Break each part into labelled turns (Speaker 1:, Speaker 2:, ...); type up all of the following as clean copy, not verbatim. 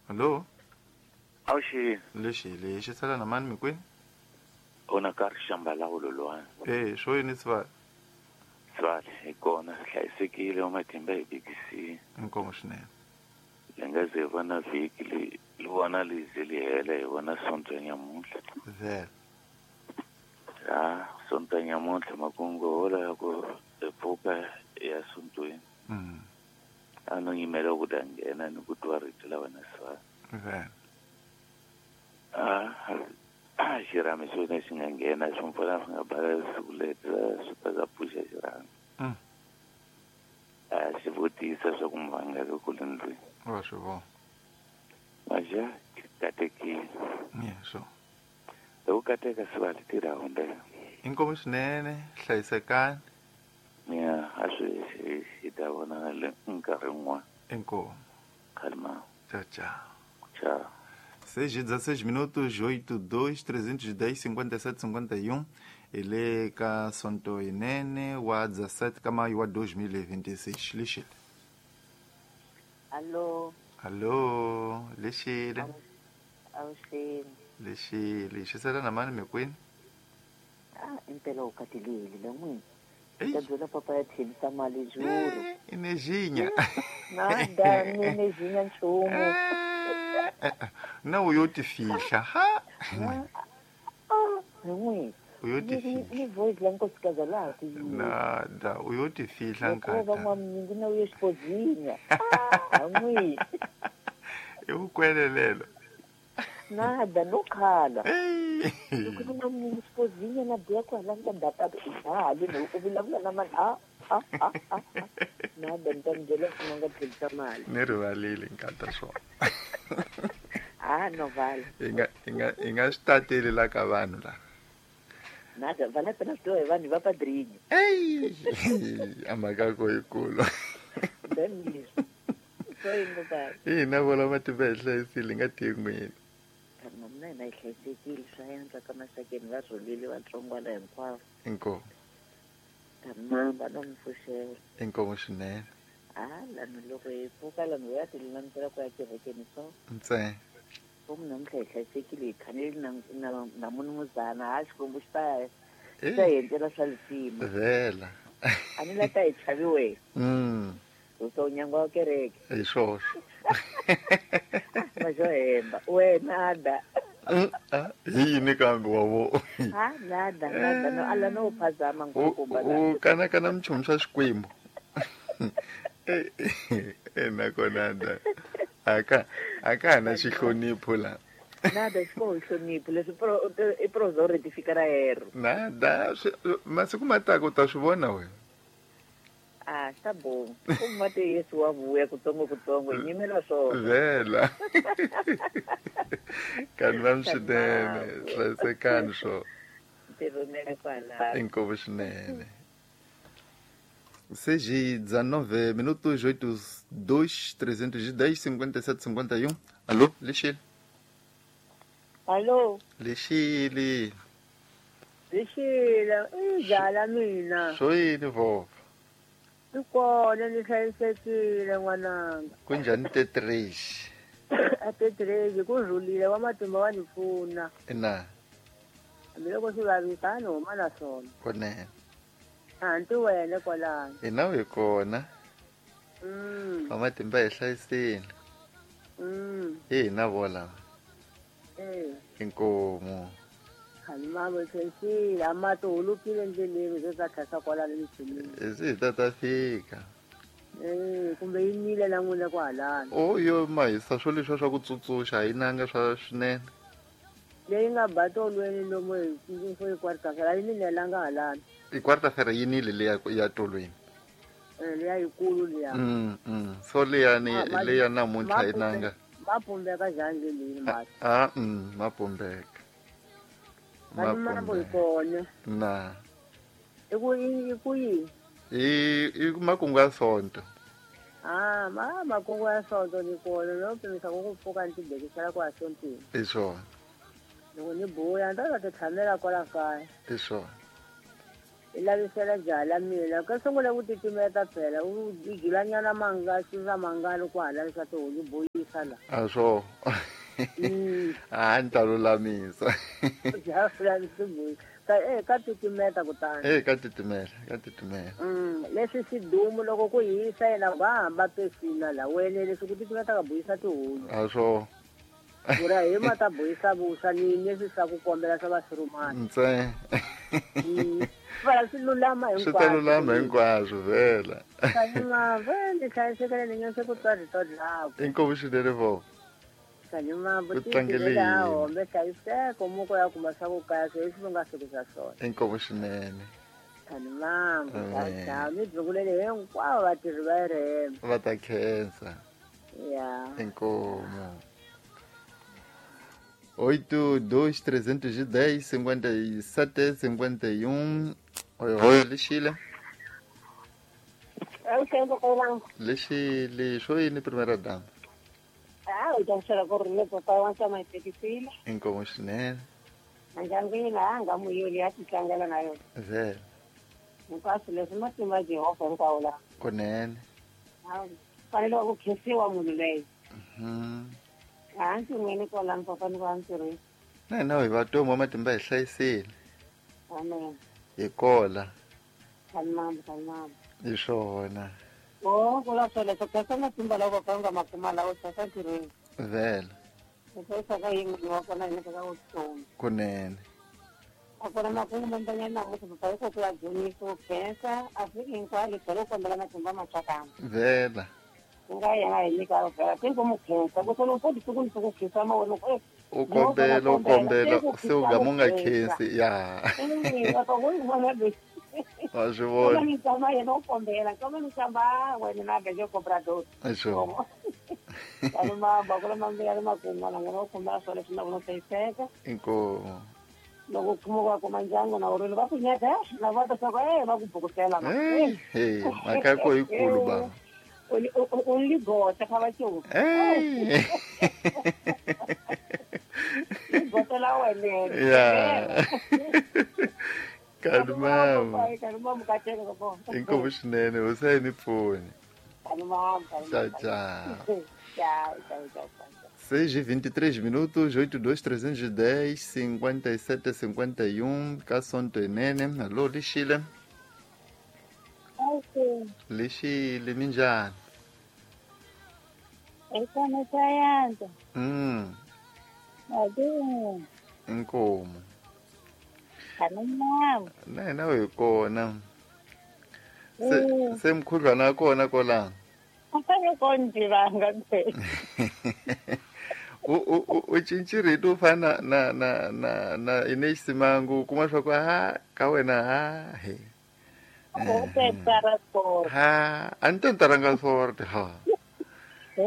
Speaker 1: Allo?
Speaker 2: Awuxini.
Speaker 1: Lexi lexi sala na mani mikwini?
Speaker 2: Ona ka rixambalawulo lowani.
Speaker 1: Eh, swo yini swa?
Speaker 2: Swale hi kona hlayisekile wa matimba hi BKC.
Speaker 1: Inkomo swinene.
Speaker 2: Li nga ze vona vhiki li li vona li ze li hela hi vona Sonto ya nyamuntlha.
Speaker 1: Vhele.
Speaker 2: Ha, Sonto ya nyamuntlha makungu hola ya ku hi pfuka ya sontweni. A no yimela ku ta nghena ni ku twa rito la wena swale.
Speaker 1: Vhele.
Speaker 2: A xirhami xona xi nga nghena swi mpfula swi nga bala siku leti swi ta za pfuxa xirhami. A xi vutisa swa ku muvangaka ku le ndlwini.
Speaker 1: Wa swi vona.
Speaker 2: Maja katekile.
Speaker 1: Yeah, so.
Speaker 2: Loko kateka sivali tirha humbela.
Speaker 1: Inkomo swinene, hlayisekani.
Speaker 2: Ya, a swi hi ta vona le nkarhi wun'wana.
Speaker 1: Inkomo.
Speaker 2: Khalima.
Speaker 1: Tchau, tchau.
Speaker 2: Tchau.
Speaker 1: 6:16 minutos, 8, 2, 310, 57, 51. Ele ka Sonto Inene wa 17 ka maio wa 2026. Lixile.
Speaker 3: Allo.
Speaker 1: Allo, lixile.
Speaker 3: Awuxini.
Speaker 1: Lixile, xisela na mani mikwini?
Speaker 3: Ah, impela u katilile la n'wini. Ta byela papa ya tlhelisa mali juru.
Speaker 1: Inejinya.
Speaker 3: Nada, ni nchumu.
Speaker 1: Na u yo ti fihla ha.
Speaker 3: Hi n'wini.
Speaker 1: U yo ti fihla.
Speaker 3: Ni voice la nkosikazi laha ku yini.
Speaker 1: Nada, u yo ti fihla
Speaker 3: nkata. Loko va n'wamnyingi na u ye xipozinya. Ha n'wini.
Speaker 1: I vukwelelelo.
Speaker 3: Nada, no khala. Loko ni n'wamnyingi xipozinya na biya kwala ni ta data ha le u vulavula na mani a a a a. Nada, ni ta mi byela ku nga tlhelisa mali.
Speaker 1: Ni rivalile nkata swona.
Speaker 3: Ah, no vale.
Speaker 1: I nga swi tateli la ka vanhu la.
Speaker 3: Nada, vala pena swi tiva hi vanhu va padrinho.
Speaker 1: Ey, a mhaka ko yikulu. Ina vola matimba hi hlayisile nga tin'wini.
Speaker 3: Mina hina hi hlayisekile swa yantswa ka maxakeni va rhulile vatsongwana hinkwavo.
Speaker 1: Inkomu.
Speaker 3: Mamba no mi pfuxela.
Speaker 1: Inkomu swinene.
Speaker 3: Ah, lani loko hi pfuka lani hi ya ti lulamisela ku ya kerekeni so.
Speaker 1: Ntsena.
Speaker 3: Ku namuntlha hi hlayisekile hi khanele na na munumuzana ha Xikwembu xi ta xi ta hi endlela swa lisima.
Speaker 1: Vhela.
Speaker 3: A ni la ta hi chavi wena. Uso unyangwa wa kereke.
Speaker 1: Hi swoswo.
Speaker 3: Majo hemba. Wena ada.
Speaker 1: Hi yini kambe wa vo?
Speaker 3: Ha nada nada no ala no phazama ngikukumba.
Speaker 1: U kana kana mchumu swa Xikwembu. Eh nakona da. Aka na xihlonipho la.
Speaker 3: Nada xiko hlonipho leswi pro i prozo rectificar erro.
Speaker 1: Nada masiku mataka u ta swi vona wena.
Speaker 3: Ah, tá bom. Como mate Yesu wa vuya kutsongo kutsongo hi nyimela swona.
Speaker 1: Vhela. Kanti va swinene, hlayisekani swo.
Speaker 3: Ntirho kwala.
Speaker 1: Inkomu swinene. 6:19 minutos, 8, 2, 310, 57, 51. Alô, Lixile.
Speaker 4: Alô.
Speaker 1: Lixile.
Speaker 4: Lixile, i dlala mina.
Speaker 1: Swo yini vova?
Speaker 4: I kona ni hlayisekile n'wananga.
Speaker 1: Kunjhani tetrexi?
Speaker 4: A tetrexi ku rhulile wa matimba wa ni pfuna.
Speaker 1: Ina.
Speaker 4: Hambiloko swi vavisa a ni huma na swona.
Speaker 1: Kunene.
Speaker 4: Hanti wena kwalano.
Speaker 1: Ina hi kona. Wa matimba hi hlayisile. Hi hina vo lava. Inkomu.
Speaker 4: Mama tlhensile a mati hulukile ndleleni ze ta tlhasa kwalano mitshunini.
Speaker 1: Se hi ta fika.
Speaker 4: Kumbe yi nile na n'wina kwahalano.
Speaker 1: O yo mahisa swo leswiya swa ku tsutsuxa a yi nanga swa swinene.
Speaker 4: Leyi nga ba tolweni lomu hi quarta-feira a yi ninelanga halano.
Speaker 1: I quarta-feira yi nile leya ya tolweni.
Speaker 4: Leya yikulu liya.
Speaker 1: So leya ni leya namuntlha yi nanga.
Speaker 4: Ma pumbeka njhani ndleleni mati?
Speaker 1: Ah, ma pumbeka.
Speaker 4: Mambo hi kona.
Speaker 1: Na.
Speaker 4: I ku yini?
Speaker 1: I makungu ya Sonto.
Speaker 4: Ah, ma makungu ya Sonto ni kona no pimisa ku pfuka ni tibekisela ku ya sontweni.
Speaker 1: I swona.
Speaker 4: Loko ni buya ni ta ti tshamela kwala kaya.
Speaker 1: I swona.
Speaker 4: I lavisela jaha la mina ka sungula ku titimeta phela u gilanyana manga swi mangalo ku hala swa tihunyi boyisa la
Speaker 1: a swo a ni ta lulamisa
Speaker 4: ka titimeta kutani
Speaker 1: ka titimela ka titimela
Speaker 4: leswi swidumu loko ku hisa yena va hamba pesina la wene leswi ku titimeta ka boyisa tihunyi
Speaker 1: a swo
Speaker 4: Ura hi ma ta boyisa vuswa ni leswi swa ku kombela swa vasurumani
Speaker 1: ntse
Speaker 4: vala swi lulama
Speaker 1: hinkwaswo swi ta lulama hinkwaswo vhela
Speaker 4: kanimambo ni hlayisekele ni nyonse ku twa rito dlako
Speaker 1: inkomu swinene vo
Speaker 4: kanimambo titlangele hombe hlayiseko muko ya kuma swa ku kaya swo leswi nga fikisa swona
Speaker 1: inkomu swinene
Speaker 4: kanimambo ciao ni dzukulele hinkwavo vatirhi va rm
Speaker 1: va ta khensa
Speaker 4: ya
Speaker 1: inkomu 8 2 310 57 51. Oi, oi, Lixile. Lixile, xo yini primeira dama?
Speaker 5: Ah, u ta ku ri le papai wa nsama hi tekisile.
Speaker 1: Inkomu swinene.
Speaker 5: Ndyangwini a nga muyoli ya titlangela na yona.
Speaker 1: Vhele.
Speaker 5: Hinkwaswo leswi matimba ya Jehovha hinkwawo laha.
Speaker 1: Kunene.
Speaker 5: Fanele ku khensiwa munhu loyi. Hansi n'wini kwalano papa ni va ntirhweni.
Speaker 1: Na hina hi vatomi wa matimba hi hlayisile.
Speaker 5: Amen.
Speaker 1: Hi kola.
Speaker 5: Kanimambo, kanimambo.
Speaker 1: Hi swona.
Speaker 5: O kula swoleswo khensa matimba lawa papa nga ma kuma lawa hlayisa ntirhweni.
Speaker 1: Vhele.
Speaker 5: Hi hlayisaka hi n'wini wa kona hi nyikaka vutomi.
Speaker 1: Kunene.
Speaker 5: A kona makungu mambanyana namuntlha papa hi ku ya dzunisa ku khensa Afrika hinkwayo tlhela u kombela matimba matsakama.
Speaker 1: Vhela.
Speaker 5: Nga yena hi nyika vhela se ku mu khensa ku solo futhi siku ni siku khensa ma wena
Speaker 1: u kombela u kombela se u gama u nga khensi ya wa swi vona
Speaker 5: ni tshama yena u kombela kama ni tshama wena na gaje cobrador
Speaker 1: sure
Speaker 5: kanu mamba kula mambe ya makungu na ngena u kombela swona leswi na vona hlayiseka
Speaker 1: inkomu
Speaker 5: loko kuma wa kuma ndyangu na urilo va ku nyeka na va ta swa ku va ku bukutela
Speaker 1: mhaka ko yikulu baba
Speaker 5: u ligota kha va cuka ligota la wena
Speaker 1: ya kanimama
Speaker 5: kanimama kateka ka
Speaker 1: inkomu swinene hosi a yi mi pfuni
Speaker 5: kanimama
Speaker 1: ciao ciao
Speaker 5: ciao ciao ciao
Speaker 1: 6:23 minutos, 82 310 57 51 ka Sonto Inene. Alô, Lixile. Lixile, minjhani?
Speaker 6: Ekona sayanza.
Speaker 1: Inkomu.
Speaker 6: Kanimama.
Speaker 1: Na hina hi kona. Se mukhuhlwana wa kona kwalano.
Speaker 6: Konjivanga phela.
Speaker 1: U cincirito u fana na na na na Ines Simangu kuma swa ku ha ka wena ha he. Ha a ni tentaranga sorte ha.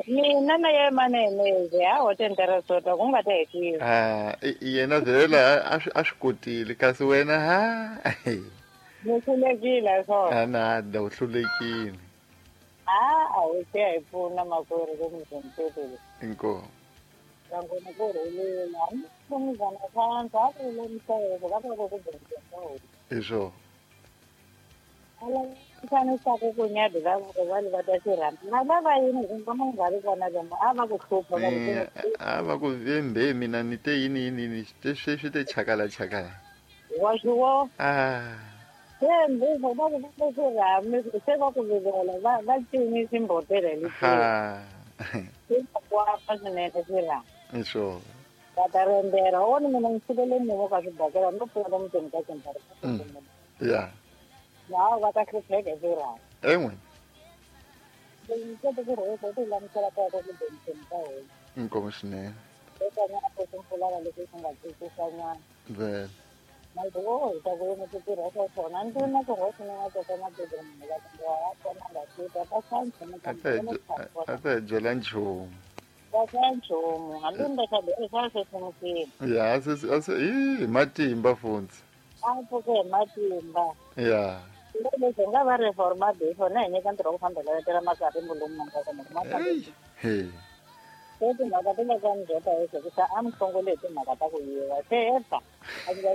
Speaker 6: Mina na ye manene ha o tentara sorte ku nga tekiwi.
Speaker 1: Ha yena vhela a swi kotile kasi wena ha.
Speaker 6: Ni hlulekile swona.
Speaker 1: A na da u hlulekile.
Speaker 6: A wu se hi pfuna makwerhu ku mi
Speaker 1: Inkomu.
Speaker 6: Ngangona ku rhulela mnumzana phansi a rhule mhleko va ku ku
Speaker 1: Hi swona.
Speaker 6: Alanisaka ku nyadi va va va ta xirhamba na lava yini kumbe mu nga ri kona lomu a va ku hlupha va ku
Speaker 1: a va ku vembe mina ni te yini yini yini swi te chakala chakala.
Speaker 6: Wa swi wo
Speaker 1: Ah.
Speaker 6: Se va ku va xirhami se va ku vilela va va cinisa ximbotela lexi.
Speaker 1: Ha.
Speaker 6: Kwapa swinene xirhami.
Speaker 1: Hi swona.
Speaker 6: Va ta rembera wona mina ni sivele ni ka swibakela no pfuna mutini ka xintara.
Speaker 1: Ya.
Speaker 6: Na va ta hlupheka xirhami.
Speaker 1: En'we.
Speaker 6: Ni kota ku rheka ku lamisela ka ku benseni ka wena.
Speaker 1: Inkomu swinene.
Speaker 6: Eka nyana ku pfulaka leswi swi nga twisisanyana.
Speaker 1: Vhele.
Speaker 6: Mas ta ku yini ku tirha swa swona ndzi na ku rheka ni nga teka madokodela la ku wa kona nga tita ta xantsha ni
Speaker 1: A ta hi byela nchumu.
Speaker 6: Ta xa nchumu hambi ni ta xa xa sweswi
Speaker 1: Ya a se hi matimba futhi.
Speaker 6: A pfuke hi matimba.
Speaker 1: Ya.
Speaker 6: Leswi nga va reforma before na hi nyika ntirho wa ku fambela letela makari mbulumu nga kona
Speaker 1: He.
Speaker 6: Se timhaka ti le ka ndzhota hi ku a mi hlongole hi timhaka ta ku yiva se efa a ndzi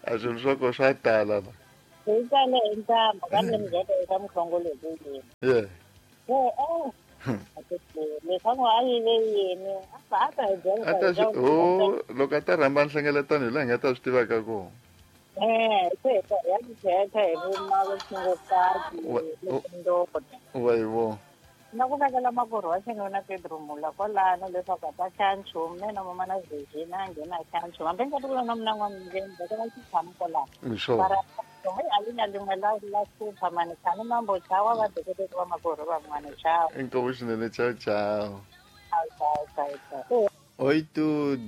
Speaker 1: A swilo swa ko swa tala la.
Speaker 6: Hi tale hi ntamba kambe ni byela eka muhlongo lowu yini.
Speaker 1: Yeah.
Speaker 6: Leswaku a yive yini a ta hi byela.
Speaker 1: A ta swi oh loko a ta rhamba nhlengeletano hi laha hi nga ta swi tivaka kona.
Speaker 6: Se ya tithetha hi vumavusingokati ndoda.
Speaker 1: Wa hi vona.
Speaker 6: Na ku vekela makurhu wa xinuna Pedro Mula kwalano leswaku a ta xa nchumu na yena mama na Virginia a nghena a xa nchumu hambi nga ti na mina n'wana vekela xitshamo kwalano.
Speaker 1: Sure.
Speaker 6: Mara a li na lin'we la la hlupha mani tshani mambo chawa va deketeki va makurhu van'wana chawa.
Speaker 1: Inkomu swinene ciao ciao.
Speaker 6: Ciao ciao ciao.
Speaker 1: 8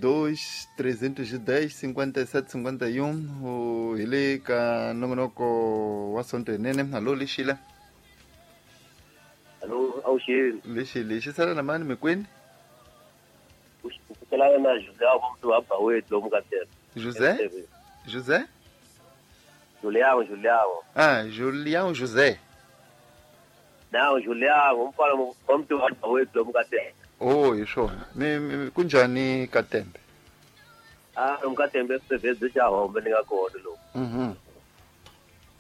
Speaker 1: 2 310 57 51 hi le ka nongonoko wa Sonto Yinene. Hallo Lexile.
Speaker 7: Hallo awuxini.
Speaker 1: Lexile xi sala na mani mikwini?
Speaker 7: Kuselana na José wa mtu wa Baweti lomu ka tena.
Speaker 1: José? José?
Speaker 7: Julião, Julião.
Speaker 1: Ah, Julião José.
Speaker 7: Não, Julião, umfana wa mtu wa Baweti lomu ka tena.
Speaker 1: Oh, hi swona. Mi kunjhani ka Tembe?
Speaker 7: Ah, lomu ka Tembe swivhedze xa hombe ni nga kona lomu.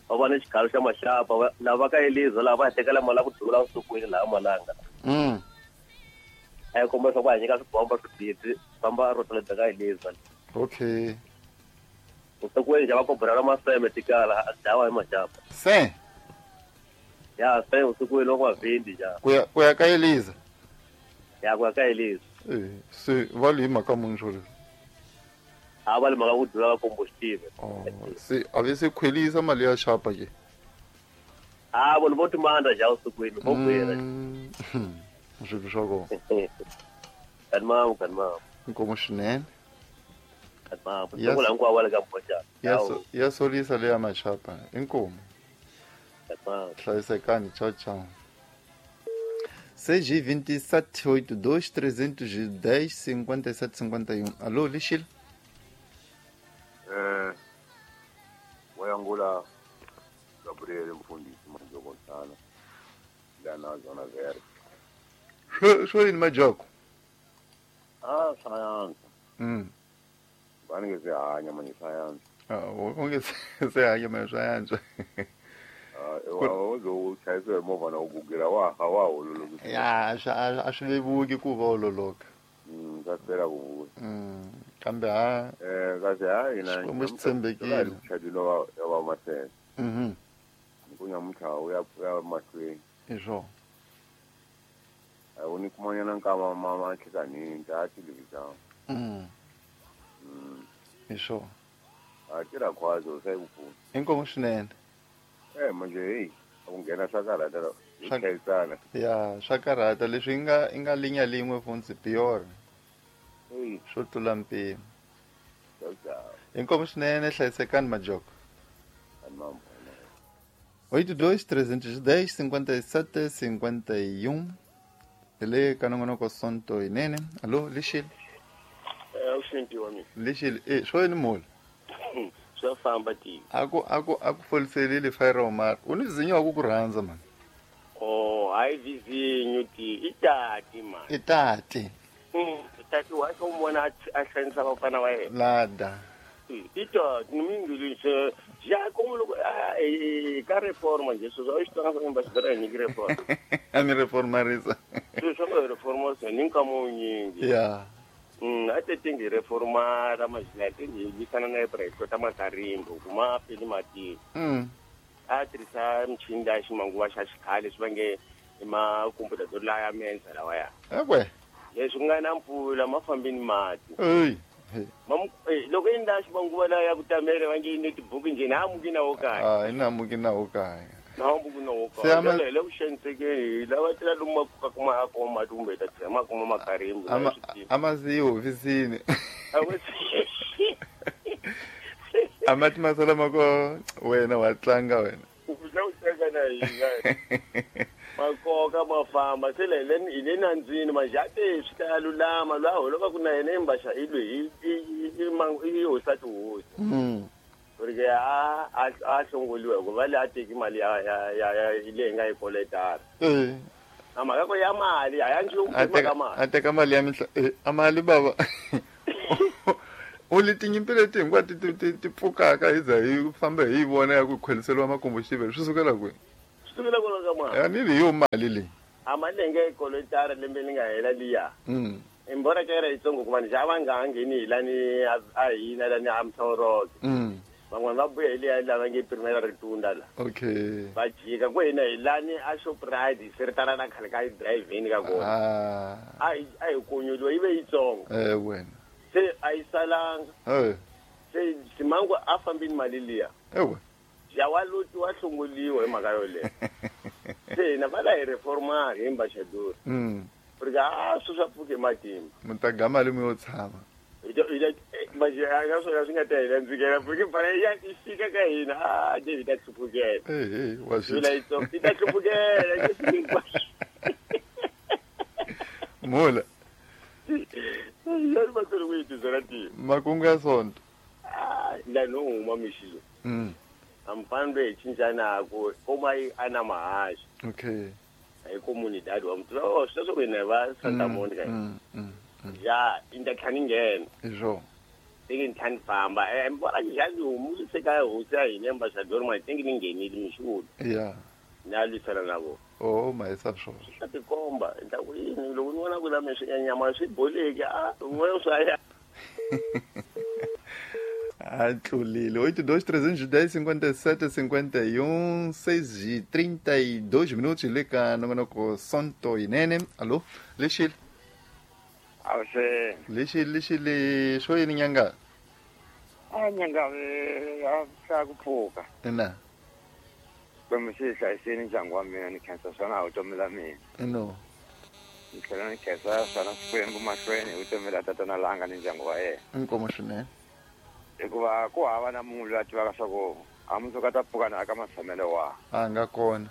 Speaker 7: Va va ni xikhalo xa maxapa lava ka Eliza lava va tekela mali ya ku duvula vusikwini laha Malanga. A yi komba leswaku va hi nyika swibomba swibisi famba rotoleta ka Eliza.
Speaker 1: Okay.
Speaker 7: Vusikwini xa va kobrela maseme tikala a dlawa hi maxapa.
Speaker 1: Se?
Speaker 7: Ya, se vusikwini loko va vhindi ja.
Speaker 1: Ku ya ka Eliza.
Speaker 7: Ya ku ya ka Eliza.
Speaker 1: Se va li mhaka muni swo leswi?
Speaker 7: A va li mhaka ku dlula va komboxitive.
Speaker 1: Oh, se a ve se khwelisa mali ya xapa ke?
Speaker 7: A vona vo timandla ja vusikwini vo kwela.
Speaker 1: Swilo swa kona.
Speaker 7: Kanimam, kanimam.
Speaker 1: Inkomu swinene.
Speaker 7: Kanimam. Sungula hinkwavo va le ka Mbhoxana.
Speaker 1: Ya solisa leya maxapa. Inkomu.
Speaker 7: Kanimam.
Speaker 1: Hlayisekani, ciao ciao. CG 27 82 310 57 51. Alô, Lixil?
Speaker 8: Wayangula Gabriel mfundisi Majoko Ntana lana zona verde.
Speaker 1: Sho yini Majoko?
Speaker 8: Ah, sayansi. Bani ke sehanya manje sayansi.
Speaker 1: Ah, onge sehanya manje sayansi.
Speaker 8: Uzochayisa movha na ugugela wa hawa ololoka.
Speaker 1: Ya, a swi vevuki ku va ololoka.
Speaker 8: Ka hlwela ku vuya.
Speaker 1: Kambe ha
Speaker 8: kasi ha hina
Speaker 1: Xikwembu xi tshembekile.
Speaker 8: Chadilo ya va masele. Ku nyamuntlha u ya mahlweni.
Speaker 1: Hi swona.
Speaker 8: A wu ni kumanyana nkama ma nhlikanini ta tilivisa.
Speaker 1: Hi swona.
Speaker 8: A tirha khwazo se ku pfuna.
Speaker 1: Inkomu swinene.
Speaker 8: Manje hey, ku nghena swa karhata hi chayisana.
Speaker 1: Ya, swa karhata leswi i nga linya lin'we funtsi pior. Swo tlula mpimo. Inkomu swinene hlayisekani Majoko. 82 310 57 51. Hi le ka nongonoko Sonto Yinene. Allo, Lixile.
Speaker 9: Awuxinti wa mina.
Speaker 1: Lixile, swo yini mula?
Speaker 9: Swa famba ti.
Speaker 1: A ku foliselile fire Omar. U ni vizinyo wa ku rhandza man.
Speaker 9: Oh, hayi vizinyo ti. I tati man.
Speaker 1: I tati.
Speaker 9: Tati wa xo mona a hlanisa vafana wa yena.
Speaker 1: Lada.
Speaker 9: I tati ni mingilise ja como loko ka reforma nje sweswo a xi tonga swa va xi nyiki reforma.
Speaker 1: A mi reformarisa.
Speaker 9: Sweswo nga reforma se ni nkama wunyingi.
Speaker 1: Ya.
Speaker 9: A te tingi reforma ra majila tingi lwisana na Ibrahim ta makarimbo kuma peli mati. A tirhisa michini leya ximanguva xa xikhale swi vange i makompyuta to laya mensa lawa ya.
Speaker 1: Ekwe.
Speaker 9: Leswi nga na mpfula ma fambini mati.
Speaker 1: Ey.
Speaker 9: Loko i ndla ximanguva lawa ya ku tamele va nge yi netibuku njhe na amuki na wo kaya.
Speaker 1: Ah, i na amuki na wo kaya.
Speaker 9: Na amuki na wo kaya. Hi le ku xanisekeni lava tela lomu makuka kuma a kuma mati kumbe ta tlhela ma kuma makarimbo.
Speaker 1: A ma si hofisini. A mati ma sala ma ko wena wa tlanga wena.
Speaker 9: U tla u tlanga na hina. Makoka ma famba se le hi le nandzini majate swi ta lulama lwa holova ku na yena imbaxa i lweyi i hosa tihosi. Porque a hlongoliwa hikuva le a teki mali ya leyi nga yi koletana. A mhaka ko ya mali a ya nchumu mhaka mali.
Speaker 1: A teka mali ya mihla a mali baba. U li tinyimpi leti hinkwato ti pfukaka hi za hi famba hi vona ya ku khweliseriwa makumbu xivele swi sukela kwihi?
Speaker 9: Swi sukela kwala ka mali.
Speaker 1: A ni li yo mali leyi.
Speaker 9: A mali leyi nge kolotara lembe li nga hela liya. Imbora ka yena yitsongo ku vanhu xa va nga ha ngheni hi lani a hina lani a Mthoroke. Van'wana va buya hi liya lava nge Primera Ritunda la.
Speaker 1: Okay.
Speaker 9: Va jika ku hina hi lani a Shoprite se ri tala na khale ka driving ka kona. A hi konyoliwa yi ve yitsongo.
Speaker 1: Wena.
Speaker 9: Se a yi salanga. Se Simangu a fambini mali liya.
Speaker 1: Ewe.
Speaker 9: Ya wa loti wa hlongoliwa hi mhaka yoleyo. Se hina va la hi reforma hi ambassador. Porque a swi swa pfuke matimba.
Speaker 1: Mutaga mali mi yo tshama.
Speaker 9: Manje a nga swona swi nga ta hina ndzikela porque fana ya i fika ka hina a David ta hlupukela.
Speaker 1: Wa swi.
Speaker 9: Yula yitsongo i ta hlupukela.
Speaker 1: Mula.
Speaker 9: Yali matsolo ku yi tizela tiyo.
Speaker 1: Makungu ya sonto.
Speaker 9: La no huma mixilo. Amfano hi cincana ku koma yi ana mahaxi.
Speaker 1: Okay.
Speaker 9: Hi comunidade wa muthu oh sweswo ku hina va Santa Monica. Ya inda tlhani nghena.
Speaker 1: Izwo.
Speaker 9: Thingi ntlhani famba. Mbona njhani humu se ka hosi ya hina ambassador ma thingi ni nghenile mixilo.
Speaker 1: Ya.
Speaker 9: Na lwisana na vona.
Speaker 1: Oh ma isa swona.
Speaker 9: Swi tikomba nta ku yini loko ni vona ku la mi swi nyama swi boleki a un'wana swa ya.
Speaker 1: Atlulile. 8 2 310 57 51 6 32 minutos leka nongonoko Sonto Inene. Alô, Lexile.
Speaker 10: Awuse.
Speaker 1: Lexile xo yini nyanga?
Speaker 10: A nyanga a sa ku pfuka.
Speaker 1: Ina.
Speaker 10: Kwembu xi hlayisile ndyangu wa mina ni khensa swona vutomi la mina.
Speaker 1: No.
Speaker 10: Ni tlhela ni khensa swona Xikwembu mahlweni hi vutomi la tatana langa ni ndyangu wa yena.
Speaker 1: Inkomo swinene.
Speaker 10: Hikuva ku hava na munhu loyi a tivaka swa ku a mundzuku a ta pfuka na ka matshamelo wa.
Speaker 1: A nga kona.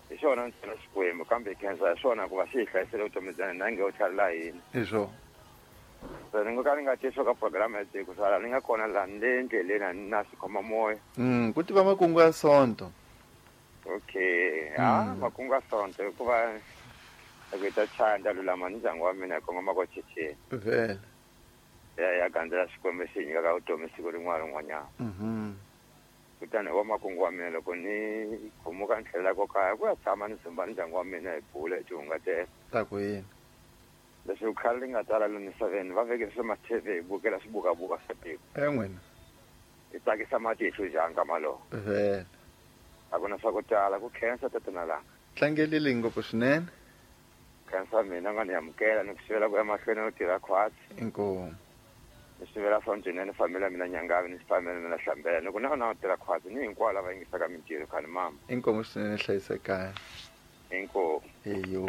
Speaker 10: Hi xona ntsena Xikwembu kambe hi khensa hi swona hikuva xi hi hlayisile vutomi bya hina nge u tlhelela hina.
Speaker 1: Hi swona.
Speaker 10: Se ni ngo ka ni nga tisi ka program ya tiko sala ni nga kona laha ni le ndleleni a ni na xikhoma moya.
Speaker 1: Ku tiva makungu ya Sonto.
Speaker 10: Okay. Makungu ya Sonto hikuva loko hi ta chaya ni ta lulama ni ndyangu wa mina hi kongoma ko chichini.
Speaker 1: Vhele.
Speaker 10: Ya gandzela Xikwembu xi hi nyikaka vutomi siku rin'wana rin'wanyana. Kutani wa makungu wa mina loko ni khumuka ni tlhelela ko kaya ku ya tshama ni dzumba ni ndyangu wa mina hi bula hi tihungatela.
Speaker 1: Ta ku yini?
Speaker 10: Leswi khale li nga tala lomu misaveni va vekele swa ma-TV hi bukela swibukabuka swa tiko.
Speaker 1: N'wina.
Speaker 10: Hi tsakisa matihlo njhani ka malowo.
Speaker 1: Vhele.
Speaker 10: A ku na swa ku tala ku khensa tatana langa.
Speaker 1: Tlangelile ngopfu swinene.
Speaker 10: Khensa mina nga ni amukela ni ku sivela ku ya mahlweni no tirha khwatsi.
Speaker 1: Inkomu.
Speaker 10: Ni sivela Sonto ni family ya mina Nyangavi ni family mina Hlambela ni ku na tirha khwatsi ni hinkwavo lava yingisaka mintirho khani mama.
Speaker 1: Inkomu swinene hlayisekani.
Speaker 10: Inkomu.
Speaker 1: Eyo.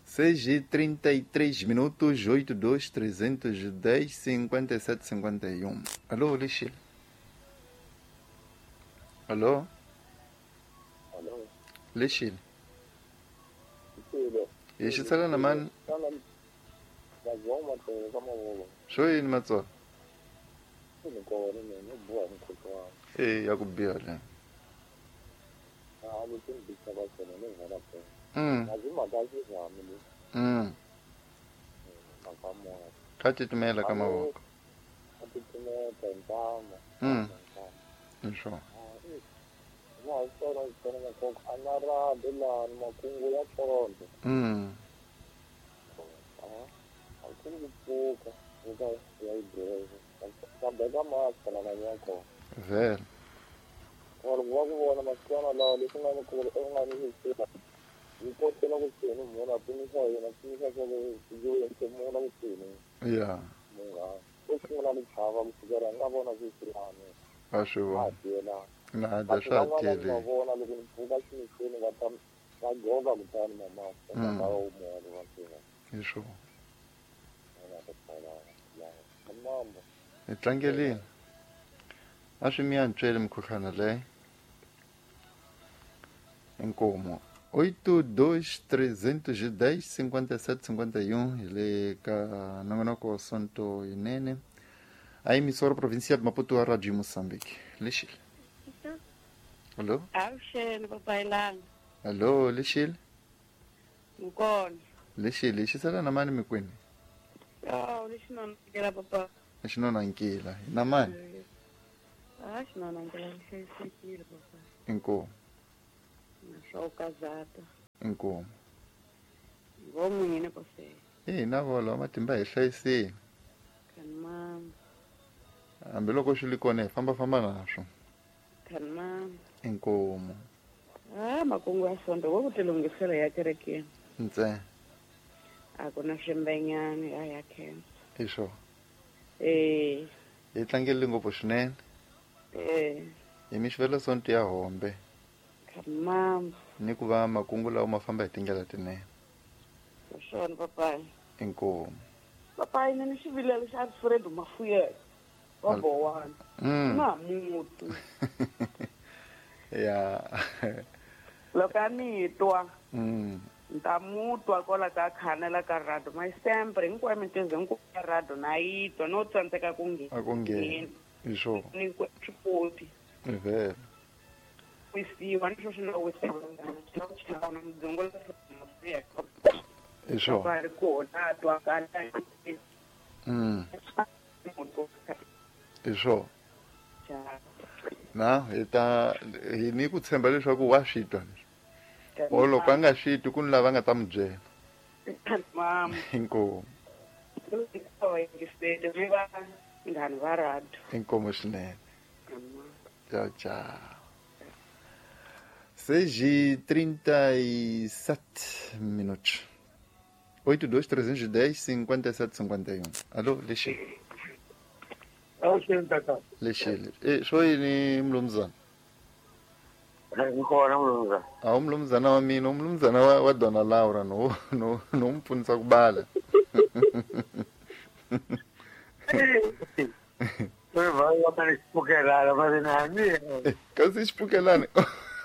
Speaker 1: 6:33 minutos, 8 2 310 57 51. Alô, Lixile. Alô?
Speaker 9: Alô?
Speaker 1: Lixile. Hi xitsala na mani? Xo yini Matsolo? Ya ku biha le. Ka titimela ka mavoko. Hi swona. Vhele. Ya. A swi vona. Na dya swa ha tele. Hi swona. Hi tlangelini. A swi mi antsweli mukhuhlwana leyi. Inkomo. 8 2 310 57 51 hi le ka nongonoko Sonto Inene. A emissora provincial de Maputo, a Rádio Moçambique. Lexile. Alô?
Speaker 5: Avuxeni papai langa.
Speaker 1: Alô, Lexile.
Speaker 5: Nkona.
Speaker 1: Lexile, xisala na mani mikwini?
Speaker 5: Oh, lexi nonokela papa.
Speaker 1: Xinona nkila na mani?
Speaker 5: A xinona nkila hlayisekile papa.
Speaker 1: Inkomu.
Speaker 5: Swokazata.
Speaker 1: Inkomu.
Speaker 5: Vomwini papa.
Speaker 1: Ina volo matimba hi hlayisile.
Speaker 5: Kanma.
Speaker 1: Hambiloko swi li kona hi famba naswo.
Speaker 5: Kanma.
Speaker 1: Inkomu.
Speaker 5: Ah, makungu ya sonto wo ku tilunghisela ya kerekeni.
Speaker 1: Ntse.
Speaker 5: A ku na swimbenyani ya ya khensa.
Speaker 1: Isho.
Speaker 5: Eh.
Speaker 1: Hi tlangele ngopfu swinene.
Speaker 5: Eh.
Speaker 1: Hi mixivelo sonto ya hombe.
Speaker 5: Kanma.
Speaker 1: Ni ku va makungu lawa ma famba hi tindlela tinene.
Speaker 5: Swona papai.
Speaker 1: Inkomu.
Speaker 5: Papai ni xivilelo xa Alfred Mafuyela. Wa Bowana. Na mutu.
Speaker 1: Ya.
Speaker 5: Loko a ni twa. Nta mutwa kwala ka khanela ka radio mai sempre hinkwayo mintirho hinkwayo ya radio na yi twa no tsandzeka ku nghena.
Speaker 1: A ku nghena. Isho.
Speaker 5: Ni ku swikoti.
Speaker 1: Vele.
Speaker 5: Wisiwa ni sweswi na wisiwa. Na mudzungu la
Speaker 1: Isho.
Speaker 5: Va ri kona twa kana.
Speaker 1: Isho. Na hi ta hi ni ku tshemba leswaku wa swi twa. O loko a nga swi twi ku ni lava nga ta mi byela.
Speaker 5: Mama.
Speaker 1: Inkomu. Inkomu swinene. Tchau, tchau. 6:37 minutos. 82 310 57 51. Alô, Lexi. Lexi. Swo yini mlumzana?
Speaker 10: Ngikhona mlumzana.
Speaker 1: A mlumzana wa mina, mlumzana wa Dona Laura no no mpfunisa ku bala. Kasi xipukelana.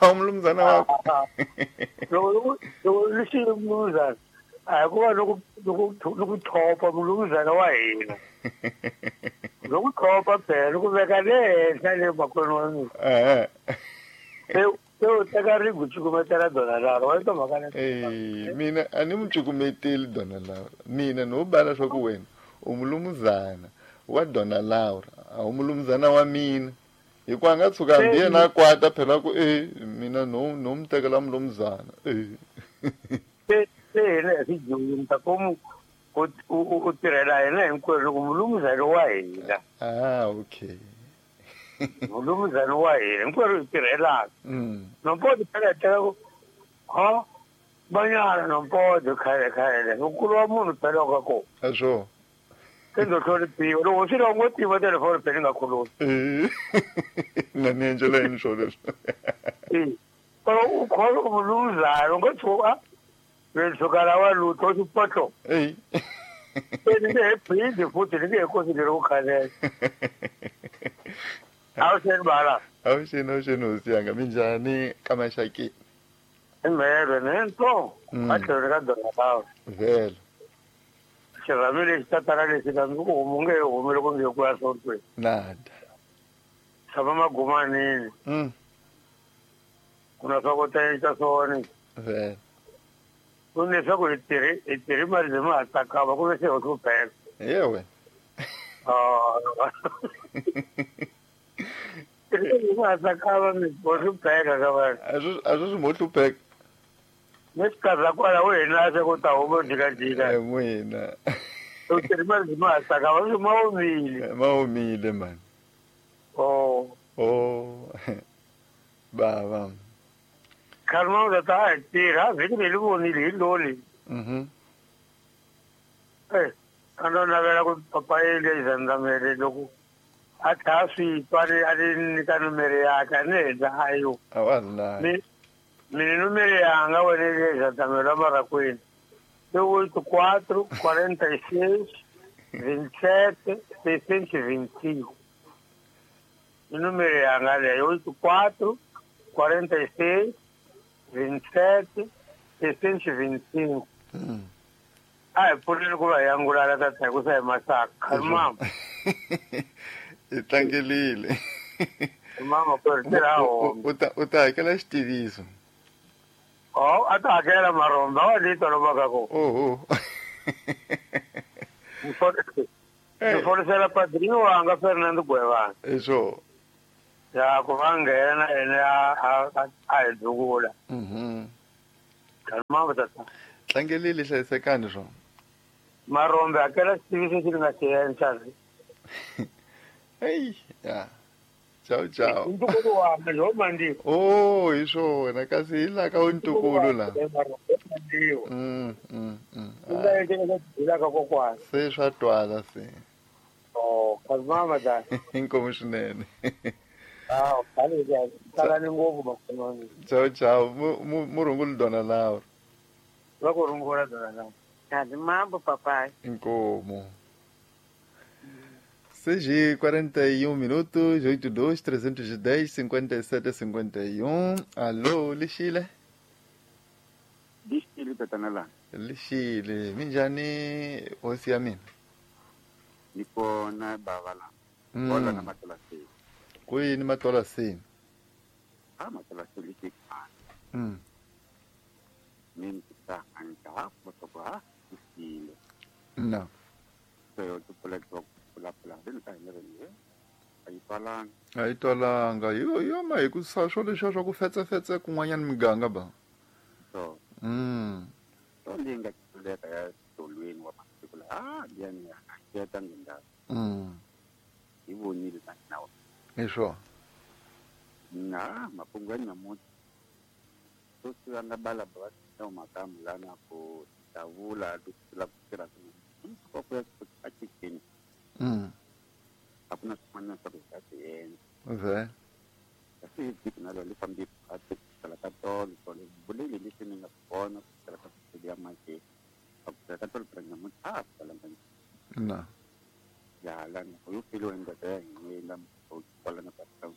Speaker 1: A mlumzana wakho.
Speaker 10: Loko lexi mlumzana. A ku va loko thopa mlumzana wa hina. Loko thopa phela loko veka le henhla le makwenu wa mina.
Speaker 1: Eh.
Speaker 10: Se u teka rigu cukumetela Dona Laura wa twa mhaka
Speaker 1: leyi. Mina a ni mu cukumeteli Dona Laura. Mina no bala swa ku wena u mulumuzana wa Dona Laura, a wu mulumuzana wa mina. Hikuva a nga tshuka hambi yena a kwata phela ku mina no mu tekela mulumuzana.
Speaker 10: Se hina hi swidyondza ku u tirhela hina hinkwerhu loko mulumuzana wa hina.
Speaker 1: Ah, okay.
Speaker 10: Mulumuzana wa hina hinkwerhu hi tirhelaka. Nompodo phela teka ku ha banyana nompodo khale nkulu wa munhu phela ka ko.
Speaker 1: A swo.
Speaker 10: Se ndo hloniphiwa loko swi longo tiva telefoni phela nga khulumi.
Speaker 1: Na ni endlela yini swo leswi.
Speaker 10: Pero u kholo mulumuzana u nga tshuka tshuka la wa lutho xipotlo. Se ni nge he phindi futhi ni nge he consideri ku khalela. Awuxeni bala.
Speaker 1: Awuxeni hosi yanga minjhani ka maxaki?
Speaker 10: Imhelo nento a tlhelo ka Dona Laura.
Speaker 1: Vhele.
Speaker 10: Xirhami lexi tatana lexi na ndzi ku homu nge he humi loko nge ku ya sontweni.
Speaker 1: Nada.
Speaker 10: Tshama magumanini. Ku na swa ku ta swona.
Speaker 1: Vhele.
Speaker 10: Ku leswaku hi tirhi mali leyi ma ha tsakama ku ve se ho hlupheka.
Speaker 1: Yewe.
Speaker 10: Ma tsakama mi ho hlupheka ka vanhu.
Speaker 1: A swi mo hlupheka.
Speaker 10: Ni xikarhi kwala wena se ku ta huma jikajika.
Speaker 1: N'wina.
Speaker 10: U tirhi mali leyi ma ha tsakama swi ma omile.
Speaker 1: Ma omile mani.
Speaker 10: Oh.
Speaker 1: Oh. Bava.
Speaker 10: Karma u ta ha tirha vhiki leri vonile hi loli. A no navela ku papa yele zandamele loko a tlha swi twa a ri nyika numere yakhe a ni endla a yo.
Speaker 1: A wa la.
Speaker 10: Mina numere yanga wena le zandamele marakwini. I 84 46 27 625. Numere yanga leyo 84 46 27 625. A hi pfuneni ku va hi angulala tata hi ku sa hi masaka. Mama.
Speaker 1: Hi tlangelile.
Speaker 10: Mama ku ri tirha home.
Speaker 1: U ta hakela xitiviso.
Speaker 10: Oh, a ta hakela maromba wa lito lomaka ko.
Speaker 1: Oho.
Speaker 11: Ni folisela padrinho wanga Fernando Gwevana.
Speaker 1: Iswo.
Speaker 11: Ya ku va nghena ene a hi dzukula. Kalma tata.
Speaker 1: Tlangelile hlayisekani swo.
Speaker 11: Marombe akela xitiviso xi nga xi endla.
Speaker 1: Hey, ya. Ciao ciao.
Speaker 11: Ntukulu wa mina ho mandi.
Speaker 1: Oh, hi swona kasi hi la ka ntukulu la. Se swa twala se.
Speaker 11: Oh, kalma da.
Speaker 1: Inkomu swinene.
Speaker 11: Ah, khale ka tsalani ngopfu makhomani.
Speaker 1: Ciao ciao. Murungulu dona lawo.
Speaker 11: Va ku rungula dona lawo.
Speaker 5: Kazi mambo papai.
Speaker 1: Inkomu. 6h41 minutos, 82 310 57 51. Alô, Lixile.
Speaker 12: Lixile, tatanala.
Speaker 1: Lixile, minjani hosi ya mina?
Speaker 12: Ni kona baba la. Hola na matola se.
Speaker 1: Kuyini matola se?
Speaker 12: Ah, matola se lixile. Mimi ta anja motoka lixile.
Speaker 1: No.
Speaker 12: So tu pula pula
Speaker 1: a yi twalanga yo ma hi ku sa swo leswiya swa ku fetsefetse kun'wanyana miganga ba
Speaker 12: so so leyi nga tluleka ya tolweni wa masiku la liyani ya ta ndlela hi vonile na nawu
Speaker 1: hi swona
Speaker 12: na makungu ya nyamuntlha to swi nga bala ba ta makamu lana ku tavula la ku tirha ku ya a chicken hakuna swin'wana swa ku hi nga swi endla
Speaker 1: okay
Speaker 12: kasi hi vhiki na lolo fambi a kusukela ka tolo tolo vuleli leswi ni nga swi vona kusukela ka swilo ya manje a kusukela ka tolo phela nyamuntlha a kalanga
Speaker 1: na
Speaker 12: ya lana u filo ndoda ya hina kwala na Pascal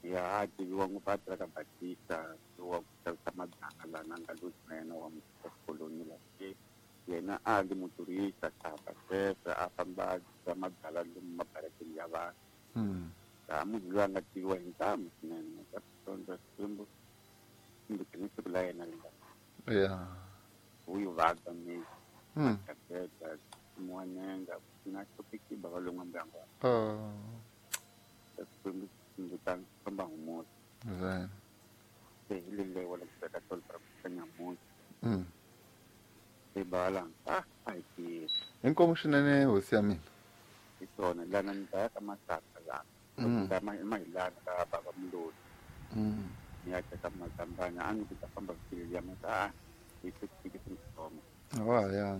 Speaker 12: ya tiviwa ngopfu a tirha ka Batista wa ku xavisa madaka lana nga loyi na yena wa xikoloni la yena a li muturista xava sweswo a famba a mabyalwa lomu mabarakeni ya vanhu laha munhu loyi a nga tiviwa hi ntamu swinene ka switondza Xikwembu kumbe ni siku la yena ri nga
Speaker 1: ya
Speaker 12: u yi vabya mi akabeda muwanenga na xopiki bava lon'wa ndyangu wa Xikwembu kumbe ta famba humuta se hi lelewa la ku teka tolo ra ku nyamuntlha
Speaker 1: inkomu swinene hosi ya mina
Speaker 12: hi swona lana ni ta ya ka masaka lana mahilana ka baba muloli ni ya teka mazambana a ni ku ta famba vhiki ya mata hi swi swi
Speaker 1: wa ya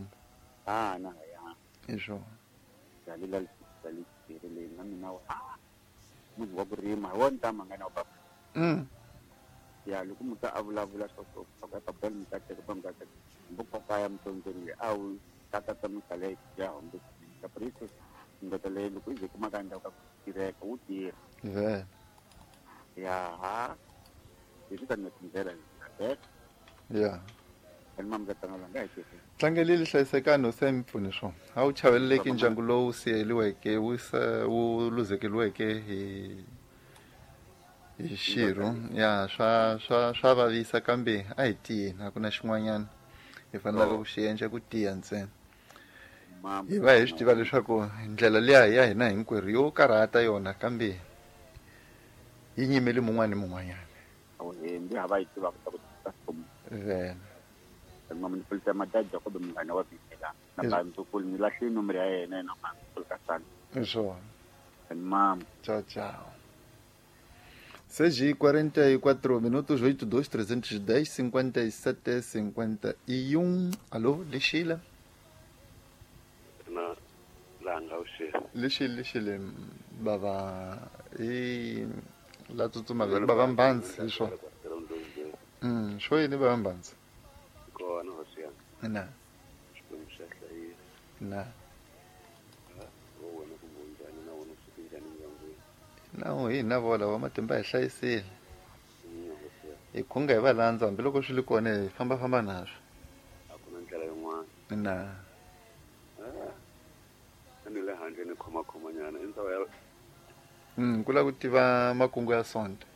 Speaker 12: a na ya
Speaker 1: hi swona
Speaker 12: ya lela leyi na mina wa munhu wa ku rima hi wona ntama nga na wa baba ya loko munhu a vulavula swa ku ka baba mi ta teka ba mi ta teka mbuka ya mtonzeni au tata ta misale ya hombe ka preso ndoda leyi loko yi kuma ka ndhawu ka tireka wu tirha ya ha leswi ta ni tindlela
Speaker 1: ya
Speaker 12: Tlangelile
Speaker 1: hlayisekani hosi ya mi pfuni swona a wu chaveleleki ndyangu lowu siyeliweke wu luzekeliweke hi xirho ya swa vavisa kambe a hi tiyeni a ku na xin'wanyana hi fanelaka ku xi endla ku tiya ntsena hi va hi swi tiva leswaku ndlela liya ya hina hinkwerhu yo karhata yona kambe yi nyimeli mun'wana ni mun'wanyana vena hi swona ciao ciao 6h44 minutos, 82 310 57 51. Alô, Lixile?
Speaker 2: Na langa uxile.
Speaker 1: Lixile, Lixile, baba e la tsutsuma baba Mbanzi, isho. Xo yini baba Mbanzi?
Speaker 2: Kona hosi ya.
Speaker 1: Na.
Speaker 2: Xikwembu xa hlayisa.
Speaker 1: Na.
Speaker 2: Wena kumbe njhani na wena u njhani ndyangwini?
Speaker 1: Na hi na vola wa matimba hi hlayisile. Hi khunga hi va landza hambiloko swi li kona hi fambafamba naswo.
Speaker 2: A ku na ndlela yin'wana.
Speaker 1: Na.
Speaker 2: A ni le handle ni khomakhomanyana i ndhawu ya
Speaker 1: ku lava ku tiva makungu ya sonto.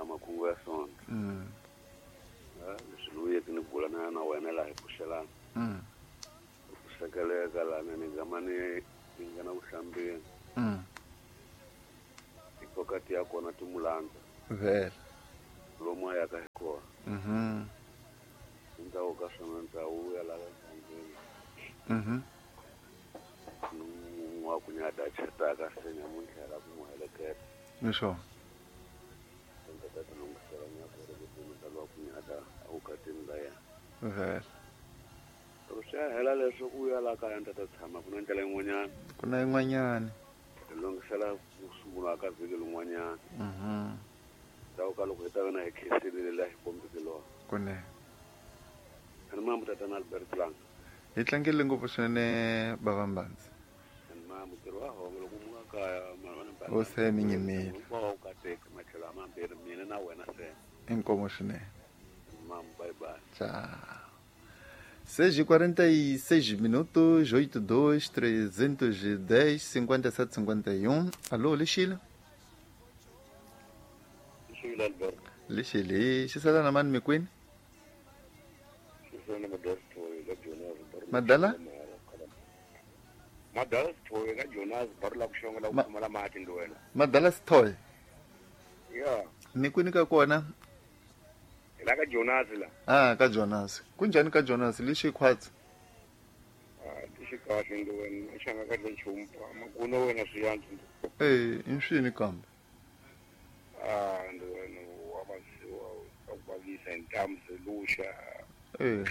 Speaker 2: Makungu ya sonto. Leswi ni vuyeke ni bula na wena laha hi pfuxelana. Ku
Speaker 8: teka lana ni gama ni nghena vuhlambeni. Tikokati ya kona ti mulandza.
Speaker 1: Vhele.
Speaker 8: Lomu a yaka hi kona. Endzhaku ka swona ndza vuya laha ndyangwini. Wa ku nyada chetaka se nyamuntlha la ku n'wi heleketa.
Speaker 1: Ni swona.
Speaker 8: Ndza ta tilunghisela nyako ri ku ta lwa ku nyada evukatini bya yena.
Speaker 1: Vhele.
Speaker 8: Loko swi ya hela leswo ku ya laha kaya ni ta tshama ku na ndlela yin'wanyana.
Speaker 1: Ku na yin'wanyana.
Speaker 8: Hi lunghisela ku sungula ka vhiki lin'wanyana. Ndzhaku ka loko hi ta va na hi khensile laha hi kombeke lona.
Speaker 1: Kunene.
Speaker 8: Ani mamu tatana Albert Langa.
Speaker 1: Hi tlangele ngopfu swinene bava Mbanzi.
Speaker 8: Ani mamu ntirho wa home loko mu nga kaya mara
Speaker 1: O se mi nyimile.
Speaker 8: Hinkwawo wu kateka matlhelo a mambirhi mina na wena se.
Speaker 1: Inkomo swinene.
Speaker 8: Mamu bye bye.
Speaker 1: Tchau. 6:46 minutos, 82 310 57 51. Alô, Lixila?
Speaker 13: Lixila Alberto.
Speaker 1: Lixila, xisala na mani mikwini? Madala?
Speaker 13: Madala Sithoye ka Jonas barula ku xonga la ku pfumala mati ndi wena.
Speaker 1: Madala Sithoye.
Speaker 13: Yeah.
Speaker 1: Mikwini ka kona?
Speaker 13: La ka Jonas la.
Speaker 1: Ah, ka Jonas. Kunjani ka Jonas lixi khwatsi?
Speaker 13: Ah, lixi kahle ndi wena, xanga kahle nchumu. Makuno wena swi yantswa.
Speaker 1: Eh, inswini kambe.
Speaker 13: Ah, ndi wena wa vasiwa ka ku vavisa hi ntamu zelusha.
Speaker 1: Eh.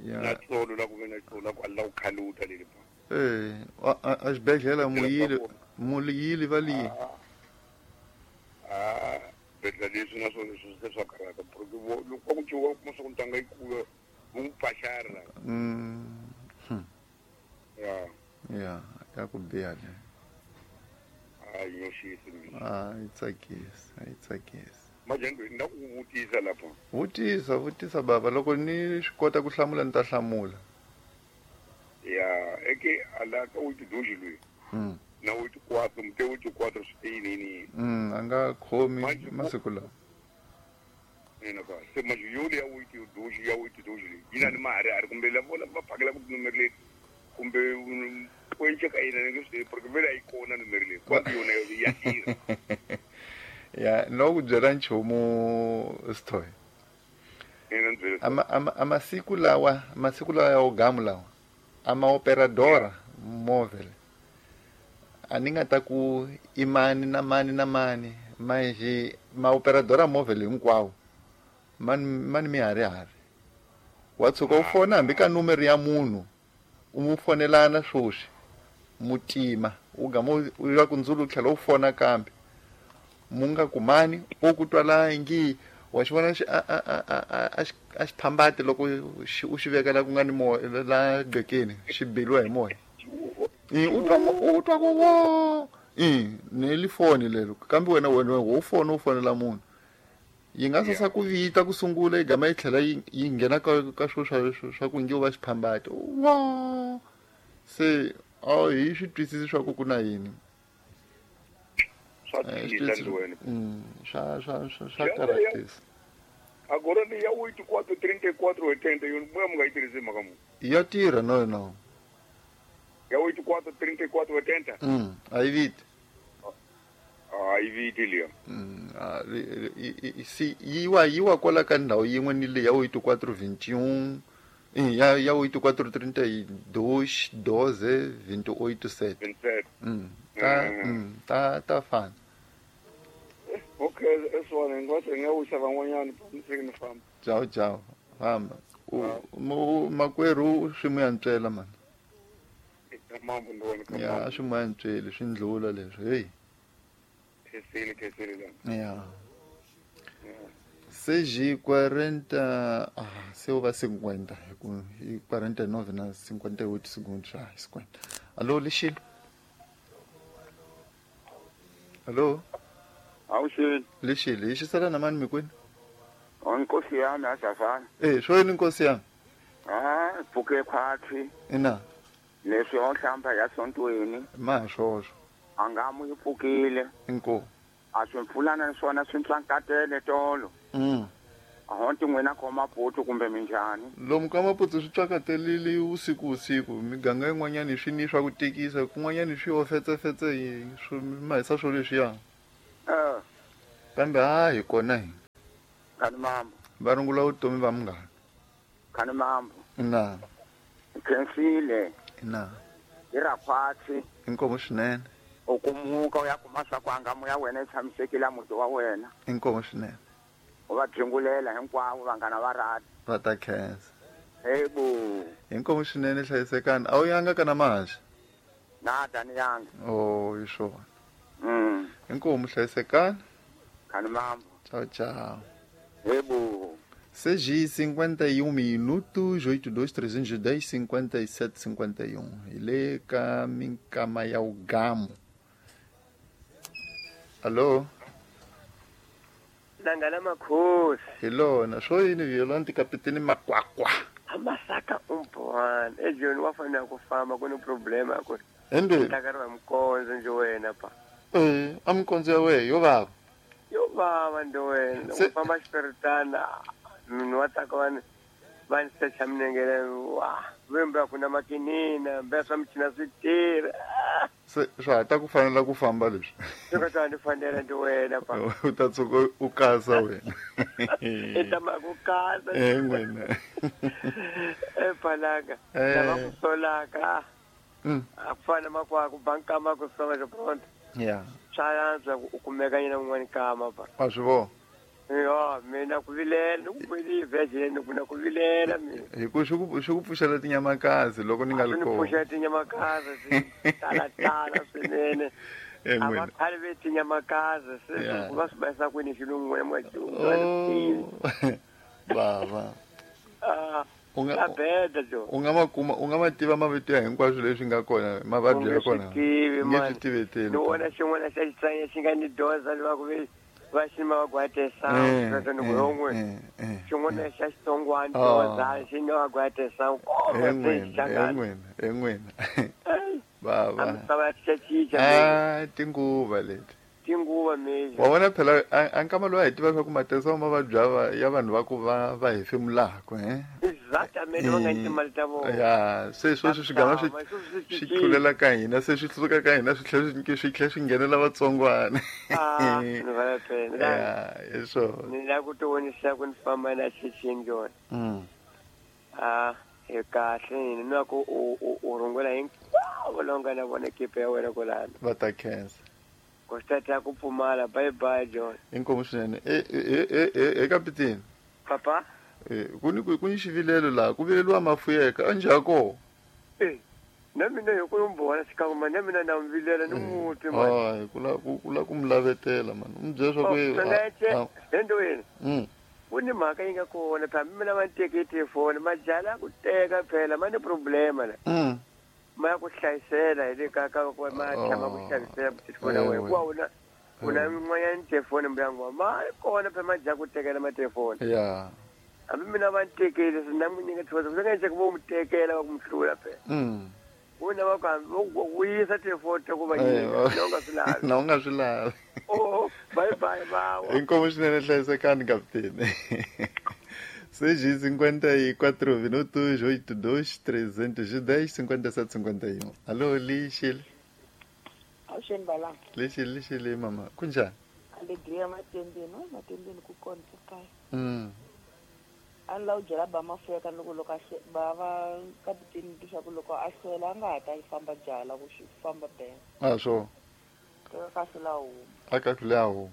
Speaker 1: Ya.
Speaker 13: Na tsolo la ku ve na tsolo la ku alla ku khaluta leli pa.
Speaker 1: Eh, a xibedhlele muyili, muyili va liyi.
Speaker 13: Ah, bedla leswi na swona leswi se swa karhata porque loko ku ciwa kuma swa ku ntanga yi kula wu n'wi pfaxara. Ya.
Speaker 1: Ya, ya ku biha le.
Speaker 13: A yi nyoxisi mina.
Speaker 1: A yi tsakisi, a yi tsakisi.
Speaker 13: Manje nda ku vutisa lapha.
Speaker 1: Vutisa, vutisa baba loko ni swi kota ku hlamula ni ta hlamula.
Speaker 13: Ya, eke ala ka u tidoji loyi. Na u ti quatro, mute u ti quatro swi yini.
Speaker 1: A nga khomi masiku lawa.
Speaker 13: Ina ka se manje yoli ya u ti doji ya u ti doji leyi. Yina ni mahari ari kumbe lavo va phakela ku numero leyi kumbe kwenche ka yina nge swi porque vele a yi kona numero leyi. Kwa yona ya tirha.
Speaker 1: Ya, no ku byela nchumu Sithoye. Amasiku lawa, masiku lawa ya ogamu lawa. Ama operadora móvel. A ni nga ta ku i mani na mani na mani, manje ma operadora móvel hinkwawo. Mani miharihari. Wa tshuka u fona hambi ka numero ya munhu, u mu fonelana swoswi, mutima, u gama u ya ku ndzulu u tlhela u fona kambe. Munga kumani o ku twala ngi wa xi vona a xi phambati loko u xi veka la ku nga ni moya la gqekeni xi beliwa hi moya. U twa ku wo ni li foni lero kambe wena wo fona u fonela munhu yi nga sasa ku vita ku sungula yi gama yi tlhela yi nghena ka swo swa ku ngi u va xiphambati wo se a hi swi twisisi swa ku ku na yini.
Speaker 13: Swa
Speaker 1: swa karatisa.
Speaker 13: Agora ni ya 84 34 80 yo mu nga yi tirhisi mhaka mu.
Speaker 1: Ya tirha no.
Speaker 13: Ya 84 34 80.
Speaker 1: A yi viti.
Speaker 13: A yi viti liya.
Speaker 1: Si yiwa kwala ka ndhawu yin'we ni le ya 84 21 ya 84 32 12 28 7. 27. Ta fana.
Speaker 13: Okay, eswana ngwathi ngiyawusa van'wanyana ni famba.
Speaker 1: Ciao ciao. Famba. Makwerhu swi mu yantswela mani. Ya swi mu yantsweli swi ndlula leswi. Hey.
Speaker 13: Khesile la.
Speaker 1: Ya. 6:40, se va 50 hi 49 na 58 segundos, 50. Alô, Lixile. Alô?
Speaker 14: Awuxini.
Speaker 1: Lixile, hi xisala na mani mikwini?
Speaker 14: Nkosi yami asafana.
Speaker 1: Eh, swo yini nkosi yami?
Speaker 14: Ah, pfuke khwatsi.
Speaker 1: Ina.
Speaker 14: Leswi o hlamba ya sontweni.
Speaker 1: Ma swoswo.
Speaker 14: A nga mu yi pfukile.
Speaker 1: Inkomu.
Speaker 14: A swi mpfulana swona swi ntlankatele tolo. Ahonti n'wina ko Maputo kumbe minjhani?
Speaker 1: Lomu ka Maputo swi tsakatelile usiku miganga yin'wanyana swi ni swa ku tikisa kun'wanyana swi yo fetsefetse swi mahisa swo leswiya. Kambe ha hi kona hi.
Speaker 14: Khani mambo.
Speaker 1: Va rungula vutomi va munghana.
Speaker 14: Khani mambo.
Speaker 1: Na.
Speaker 14: Khensile.
Speaker 1: Na.
Speaker 14: Hi ra khwatsi.
Speaker 1: Inkomu swinene.
Speaker 14: U kumuka u ya kuma swa ku anga moya wena yi tshamisekile muti wa wena.
Speaker 1: Inkomu swinene.
Speaker 14: U va byingulela hinkwavo vanghana va rati.
Speaker 1: Va ta khensa.
Speaker 14: Hebo.
Speaker 1: Inkomu swinene hlayisekani. A wu yanga kana mahaxi?
Speaker 14: Na ni yanga.
Speaker 1: Oh, hi swona. Inkomu hlayisekani.
Speaker 14: Khani mambo.
Speaker 1: Tchau, tchau.
Speaker 14: Hebo.
Speaker 1: 6:51 minutos, 82 310 57 51. Ile ka minkama ya ugamu. Alô?
Speaker 9: Nangana makhosi.
Speaker 1: Hello, na swo yini Violante Kapiteni Makwakwa.
Speaker 9: Amasaka umbwana. Ejoni wafana kufamba kuno problema ku.
Speaker 1: Ende.
Speaker 9: Takarwa mkonzo nje wena pa.
Speaker 1: Amkonzo ya we yo baba.
Speaker 9: Yo baba ndo wena. Ufamba xiperitana. Munhu wa tsaka va ni secha minengele wa vembe kuna makinina mbe swa michina swi tirha.
Speaker 1: Se swa ha ta ku fanela ku famba leswi.
Speaker 9: Swi ta ni fanela ndi wena pa.
Speaker 1: U ta tshuka u kasa wena.
Speaker 9: I ta ma ku kasa.
Speaker 1: N'wina.
Speaker 9: Palanga. Lava ku solaka. A ku fana makwaku banka ma ku soma xipronto.
Speaker 1: Yeah.
Speaker 9: Swa antswa u kumeka yena un'wana kama pa.
Speaker 1: A swi vona.
Speaker 9: Yo, mina ku vilela, ku kweli vejeni ku na ku vilela mina.
Speaker 1: Hi ku swi ku pfuxela tinyamakazi loko ni nga li kona.
Speaker 9: Swi pfuxela tinyamakazi tala tala swinene. A va khale ve tinyamakazi se ku va swi bayisa kwini xilungu n'wina mwa
Speaker 1: Bava.
Speaker 9: U nga beda jo.
Speaker 1: U nga makuma, u nga mativa mavito ya hinkwaswo leswi nga kona, mavabyi ya kona.
Speaker 9: Nge swi tiveteli. Ni vona xin'wana xa xitsanya xi nga ni doza va ku ve va xima va gwatesa sweswo ni ku xin'wana xa xitsongwana doza xi nga va gwatesa
Speaker 1: en'wina bava
Speaker 9: misava ya cinca
Speaker 1: tinguva leti
Speaker 9: tinguva meja
Speaker 1: wa vona phela a nkama lowu a hi tiva swa ku matesa mavabyi ya vanhu va ku va hefemulaka
Speaker 9: exactamente va nga ni timali ta vona
Speaker 1: ya se sweswi swi gama swi tlulela ka hina se swi suka ka hina swi tlhela swi nghenela vatsongwana
Speaker 9: ni va phela
Speaker 1: ya hi swona
Speaker 9: ni lava ku ti vonisa ku ni famba na xichini jona hi kahle ni na ku u rungula hinkwavo lava nga na vona ekipa ya wena kwalano
Speaker 1: va ta khensa
Speaker 9: Kostata ku pfumala bye bye John.
Speaker 1: Inkomu swinene. Kapiteni.
Speaker 9: Papa.
Speaker 1: Ku ni xivilelo laha ku vileliwa mafuyeka a njhako.
Speaker 9: Na mina hi ku mbona xikan'we na mina na mvilela ni muti
Speaker 1: man. Ku la ku mi lavetela man. U mi byela swa
Speaker 9: ku endweni. Ku ni mhaka yi nga kona phela mina va ni teke telefoni majala ku teka phela ma ni problema la. Ma ku hlayisela hi le ka ka ku ma tshama ku xavisela telefoni ya wena hikuva u na yin'wanyana telefoni mbyangu wa ma kona phela ma dya ku tekela matelefoni
Speaker 1: ya
Speaker 9: hambi mina va ni tekele swi na n'wi nyika telefoni swi nga endleki vo n'wi tekela va ku mi hlula phela u na va ku hambi vo ku yisa telefoni ta ku va nyika na u nga swi lavi
Speaker 1: na u nga swi lavi
Speaker 9: oh bye bye vawa
Speaker 1: inkomu swinene hlayisekani kapiteni 6:54 minutos, 82 310 57 51. Alô, Lixile.
Speaker 3: Awuxeni bala.
Speaker 1: Lixile mama. Kunjani?
Speaker 3: Alegria matendeni ku kona kaya. A ni la u byela ba mafuyeka loko loko ba va kapiteni leswaku loko a hlwela a nga ha ta yi famba byala ku xi famba bela.
Speaker 1: A swo.
Speaker 3: Ka hlula huma.
Speaker 1: A ka hlula huma.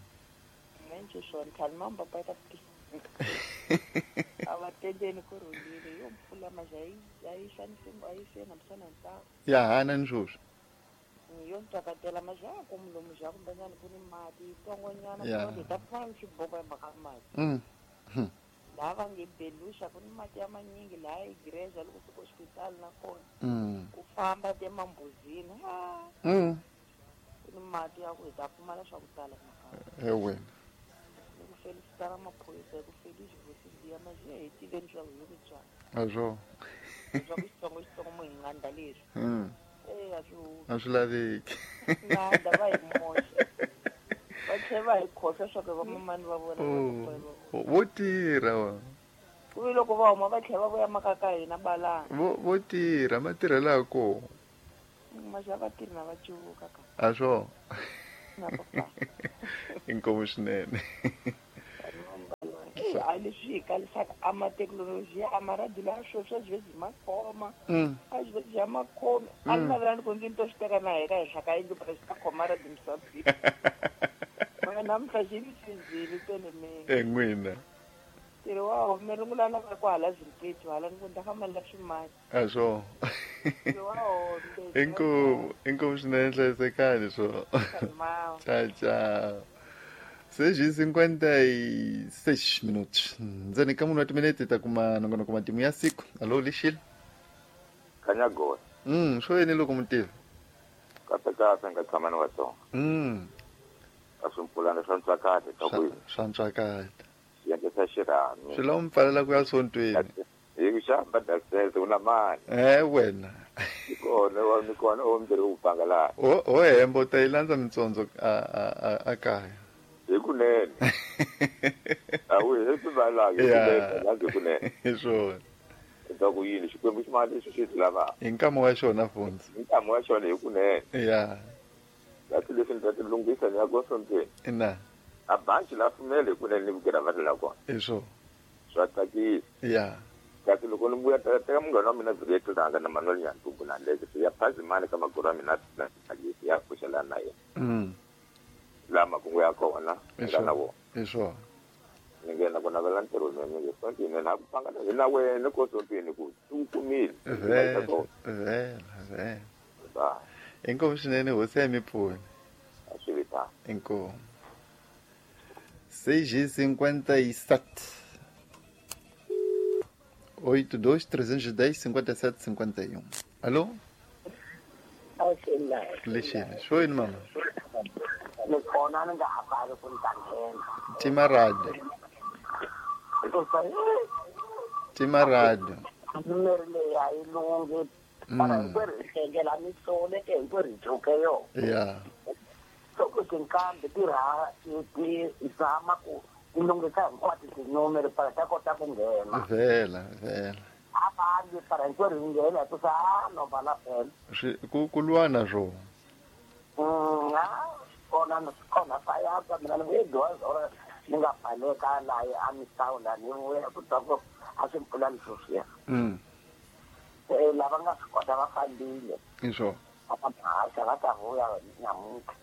Speaker 3: Nje swona khale mamba pa ta a va tendeni ku rhulile yo mpfula maja yi xanise a yi sena misana ntsako
Speaker 1: ya hana ni sweswi
Speaker 3: yo ntsakatela maja ya ku mulomu ja kumbanyana ku ni mati yitsongonyana ku ta pfumala xiboko hi mhaka mati laha va nge beluxa ku ni mati ya manyingi laha yi gireza loko fika hospitali na kona ku famba te mambuzini ku ni mati ya ku hi ta pfumala swa ku tala makaya
Speaker 1: ewe
Speaker 3: felicitara maphorisa ku feliz vosibiya maje hi tiveni swa ku hi ku byala
Speaker 1: a swo
Speaker 3: swa ku xitsongo xitsongo mo hi nganda leswi a swi
Speaker 1: a swi laveki
Speaker 3: nganda va hi moxa va
Speaker 15: tlhe va hi khohlwa swa ku vamamani va vona
Speaker 1: vo tirha wa
Speaker 15: ku vi loko va huma va tlhela va vuya maka ka hina balana
Speaker 1: vo tirha matirhelo ya kona
Speaker 15: maxa va tirhi na va cuvuka ka
Speaker 1: a swo inkomu swinene
Speaker 15: a leswi hi kalisaka a mathekinoloji a maradi lawa sweswi a byi byi makhoma a byi byi ya makhomi a ni navelani ku ngi ni to swi teka na heka henhla ka yindlu phela xi ta khoma radi misaveni mara namuntlha xi ni cinzile telemeni
Speaker 1: en'wina
Speaker 15: ntirho wa home rungulana va ku hala zimpetu hala ni ku ni ta famba ni la swimali
Speaker 1: a swo
Speaker 15: ntirho wa home
Speaker 1: inkomu inkomu swinene hlayisekani swo ciao ciao 6:56 minutos ndzeni ka munhu wa timinete ta kuma nongonoko matimu ya siku alo lixile
Speaker 10: Kanyagona
Speaker 1: swo yini loko mutivi
Speaker 10: kahle kahle nga tshama ni Vatsonga a swimpfulana swa ntswakati
Speaker 1: swa ntswakati
Speaker 10: swiendlo swa xirhami
Speaker 1: swi lava mi pfalela ku ya sontweni
Speaker 10: hi ku xamba dasese u na mani
Speaker 1: wena
Speaker 10: ni kona ni kona o mi ku panga laha
Speaker 1: o hemba u ta yi landza mitsondzo a kaya
Speaker 10: hi kunene a wu heti valaki hi kunene
Speaker 1: hi swona
Speaker 10: ta ku yini Xikwembu xi mali lexi xi lavaka
Speaker 1: hi nkama wa xona fundzi
Speaker 10: hi nkama wa xona hi kunene
Speaker 1: ya
Speaker 10: lati leswi ni ta ti lunghisa ni ya ko sontweni
Speaker 1: ina
Speaker 10: a banci la pfumela hi kunene ni vukela va la kona
Speaker 1: hi swona
Speaker 10: swa tsakisa
Speaker 1: ya
Speaker 10: kasi loko ni vuya teka munghana wa mina Vhiriyetlanga na Manuel Nyantumbu na Leke ya phazimani ka magoro ya mina na tsakisa ya pfuxelana na yena laha makungu ya kona nga na wona
Speaker 1: hi swona
Speaker 10: ni nghena ku navela ntirho nene nge sontweni na ku panga hi na wena ko sontweni ku u kumile
Speaker 1: vhela vhela vhela inkomu swinene hosi ya mi pfuna
Speaker 10: a swi vitana
Speaker 1: inkomu 6:57 82 310 57 51 allo lexile swo yini mama
Speaker 16: ni kona ni nga ha pfali ku ni ta nghena
Speaker 1: tima radio tima radio
Speaker 16: numeri leyi a yi lunghi mara hinkwerhu hi hlengela misole ke hinkwerhu hi dzuke yona
Speaker 1: ya
Speaker 16: loko tinkambi ti ti zama ku ti lunghisa hinkwato tinumeri para ta kota ku nghena
Speaker 1: vhela vhela
Speaker 16: a va para hinkwerhu hi nghena hi kusa a no vala phela
Speaker 1: ku lwa na swona
Speaker 16: kona kona swa yantswa mina ni vuye dyondzo ni nga baleka laha a misawu laha ni vuya ku twa ku a swi mpfulani sweswiya lava nga swi kota va fambile
Speaker 1: hi swona
Speaker 16: va ta haxa va ta vuya namuntlha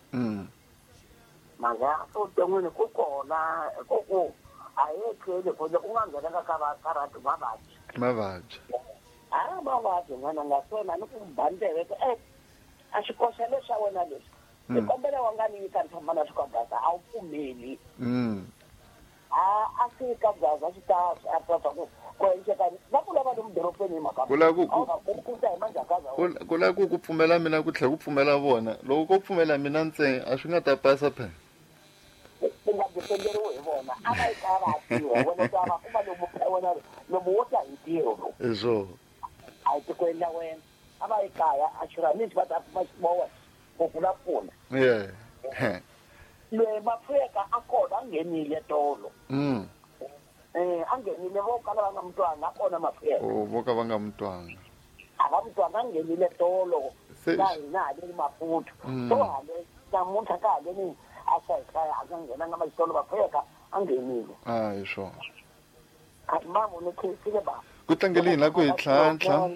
Speaker 16: mhaka vuton'wini ku kona ku ku a hi etleli ku loko u nga nghenanga ka karati mavabyi
Speaker 1: mavabyi
Speaker 16: a mavabyi n'wana nga swona ni ku ba ndleve ku a xikoxa leswa wena leswi ni kombela wa nga ni nyika ni famba na swikagaza a wu pfumeli a swi kagaza swi ta a twa ku ku enceka va ku lava lomu dorobeni hi mhaka
Speaker 1: ku lava
Speaker 16: ku ta hi manjhakaza
Speaker 1: ku lava ku pfumela mina ku tlhela ku pfumela vona loko ko pfumela mina ntsena a swi nga ta pasa phela
Speaker 16: ku nga dependeriwi hi vona a va yi kaya va tirha wena ta va kuma lomu wena lomu wo ta hi ntirho lowu
Speaker 1: hi swona
Speaker 16: a hi tikweni la wena a va yi kaya a xirhamisi va ta kuma xibowa ku kula pfuna loyi mapfuyeka a kona a nghenile tolo a nghenile vo kala va nga mutwanga a kona mapfuyeka
Speaker 1: vo ka va nga mutwanga
Speaker 16: a va mutwanga a nghenile tolo ka hina haleni Maputo so hale namuntlha ka haleni a xayihlaya a nga nghenanga maxitolo mapfuyeka a nghenile
Speaker 1: a hi swona
Speaker 16: mamo ni khensile ba
Speaker 1: ku tlangele hina ku hi tlhantlha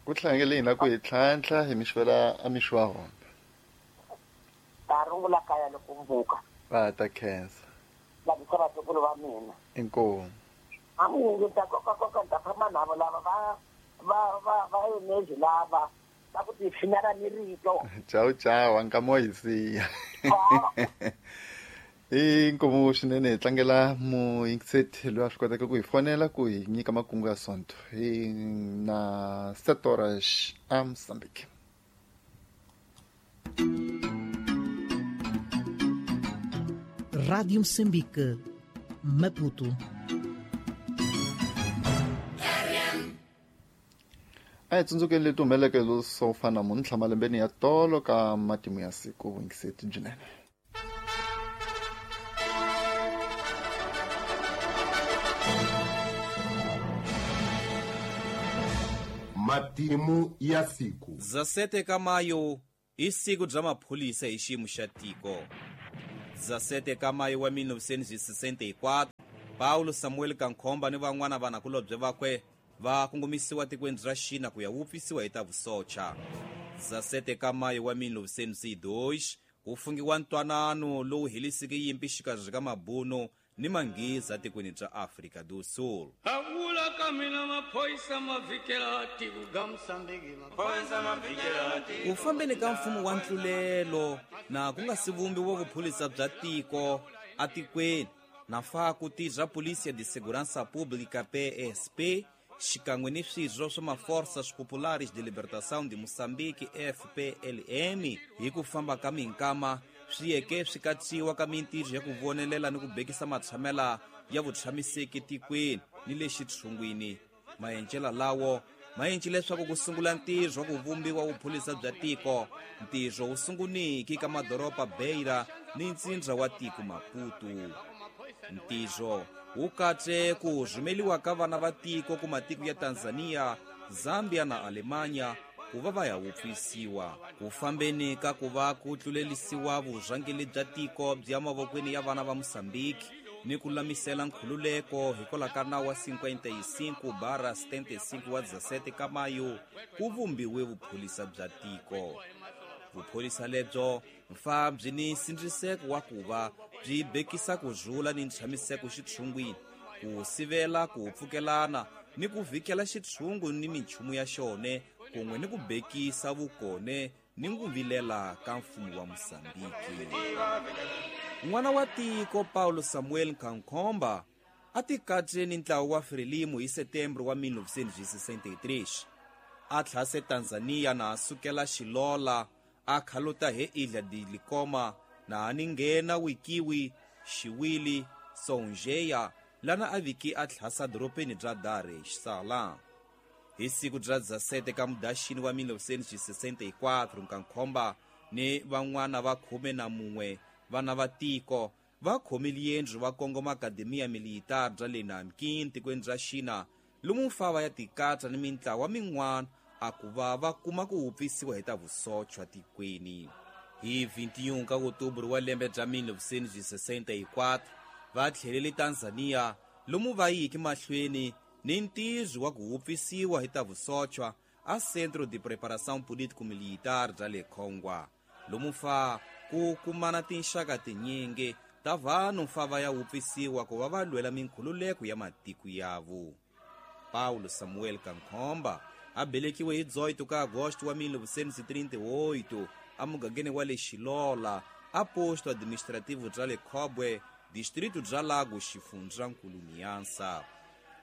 Speaker 1: ku tlangele hina ku hi tlhantlha hi mixwela a mixo wa hona
Speaker 16: ta rungula kaya loko mvuka
Speaker 1: va ta khensa
Speaker 16: lavisa vatukulu va mina
Speaker 1: inkomu
Speaker 16: a mungu ta koka ta famba navo lava va energy lava va ku tipfinela ni rito
Speaker 1: ciao ciao nkama wa hi siya i nkomu swinene hi tlangela muyingiseti loyi a swi kotaka ku hi fonela ku hi nyika makungu ya sonto hi na 7 horas a Mozambique.
Speaker 17: Rádio Moçambique, Maputo.
Speaker 1: A hi tsundzukeni leti humeleke swo fana namuntlha malembeni ya tolo ka matimu ya siku vuyingiseti byinene.
Speaker 18: Matimu ya siku.
Speaker 19: 17 ka maio i siku bya maphorisa hi xiyimo xa tiko. 17 ka maio wa 1964, Paulo Samuel Kankhomba ni van'wana vanakulobye vakwe va kongomisiwa tikweni ra Xina ku ya wupfisiwa hi ta vusocha. 17 ka maio wa 1902, ku fungiwa ntwanano lowu heliseke yimpi xikarhi ka mabunu ni manghiza tikweni bya Afrika do Sul. Ku fambeni ka mfumo wa ntlulelo na ku nga si vumbiwa vuphorisa bya tiko atikweni na fa ku tirha Polícia de Segurança Pública PSP xikan'we ni swirho swa ma-Forças Populares de Libertação de Moçambique FPLM hi ku famba ka minkama swi yeke swi katsiwa ka mintirho ya ku vonelela ni ku bekisa matshamela ya vutshamiseki tikweni ni le xitshungwini. Maendlelo lawo ma endle leswaku ku sungula ntirho wa ku vumbiwa vuphorisa bya tiko. Ntirho wu sunguniki ka madoroba Beira ni ntsindza wa tiko Maputo. Ntirho wu katse ku rhumeliwa ka vana va tiko ku matiko ya Tanzania, Zambia na Alemanya ku va va ya wupfisiwa. Ku fambeni ka ku va ku tlulelisiwa vurhangeri bya tiko bya mavokweni ya vana va Mozambique ni ku lulamisela nkhululeko hikwalaho ka nawu wa 55/75 wa 17 ka mayo ku vumbiwe vuphorisa bya tiko. Vuphorisa lebyo mfa byi ni nsindziseko wa ku va byi bekisa ku rhula ni ntshamiseko xitshungwini, ku sivela ku pfukelana ni ku vhikela xitshungu ni minchumu ya xone kun'we ni ku bekisa vukone ni ku vilela ka mfumo wa Mozambique. N'wana wa tiko Paulo Samuel Kankhomba a tikatse ni ntlawa wa Frelimo hi Setembro wa 1963. A tlhase Tanzania na a sukela Xilola a khaluta he Ilha de Likoma na a ninghena Wikiwi, Xiwili, Songeia lana a viki a tlhasa doropeni bya Dar es Salaam. Hi siku bya 17 ka Mudaxini wa 1964, Kankhomba ni van'wana va 11 vana va tiko va khomile yendlu va kongoma Akademiya Militar bya le Nanking tikweni bya Xina lomu mfava ya tikatsa ni mintlawa min'wana a ku va va kuma ku wupfisiwa hi ta vusochwa tikweni. Hi 21 ka Oktobre wa lembe bya 1964 va tlhelele Tanzania lomu va yiki mahlweni ni ntirho wa ku wupfisiwa hi ta vusochwa a Centro de Preparação Político-Militar bya le Khongwa lomu fa ku kumana tinxaka tinyingi ta vanhu fa va ya wupfisiwa ku va va lwela minkhululeko ya matiko yavo. Paulo Samuel Kankhomba a belekiwe hi 18 ka Agosto wa 1938 emugangeni wa le Xilola a posto administrativo bya le Khobwe, distrito bya Lago, xifundzankulu Niansa.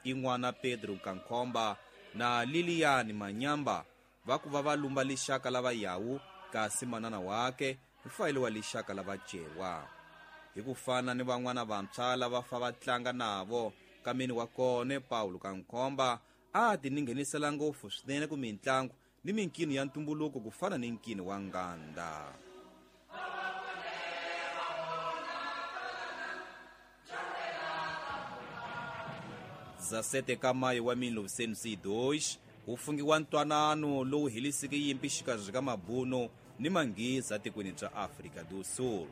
Speaker 19: I n'wana Pedro Kankhomba na Lilian Manyamba va ku va va lumba lixaka lava yawu, kasi manana wake mfayelo wa lixaka lava cewa. Hi ku fana ni van'wana vantshwa lava fa va tlanga navo kameni wa kone Paulo Kankhomba a ti ninghenisela ngopfu swinene ku mintlangu ni minkino ya ntumbuluko ku fana ni nkino wa nganda. 17 ka maio wa 1902 ku fungiwa ntwanano lowu heliseke yimpi xikarhi ka mabunu ni manghiza tikweni bya Afrika do Sul.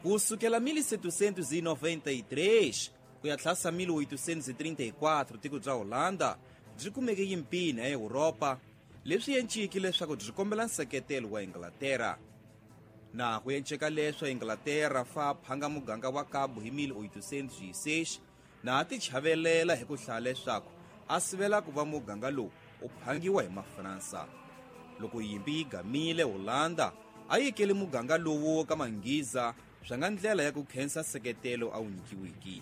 Speaker 19: Ku sukela 1793 ku ya tlhasa 1834 tiko bya Holanda byi kumeke yimpini ya Europa leswi enciki leswaku byi kombela nseketelo wa Inglaterra. Na ku enceka leswo Inglaterra fa phanga muganga wa Cabo hi 1806 na a tichavelela hi ku hlaya leswaku a sivela ku va muganga lowu u phangiwa hi Mafransa. Loko yimpi yi gamile Holanda a yikele muganga lowu ka manghiza swa nga ndlela ya ku khensa nseketelo a wu nyikiwiki.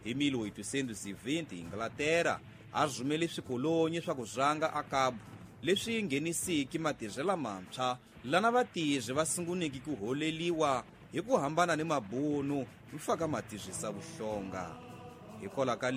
Speaker 19: Hi 1820 Inglaterra a rhumele swikolonyi swa ku rhanga a Cabo leswi nghenisiki matirhelo mantshwa lana vatirhi va sunguniki ku holeliwa hi ku hambana ni mabunu mfaka matirhisa vuhlonga. Hikwalaho ka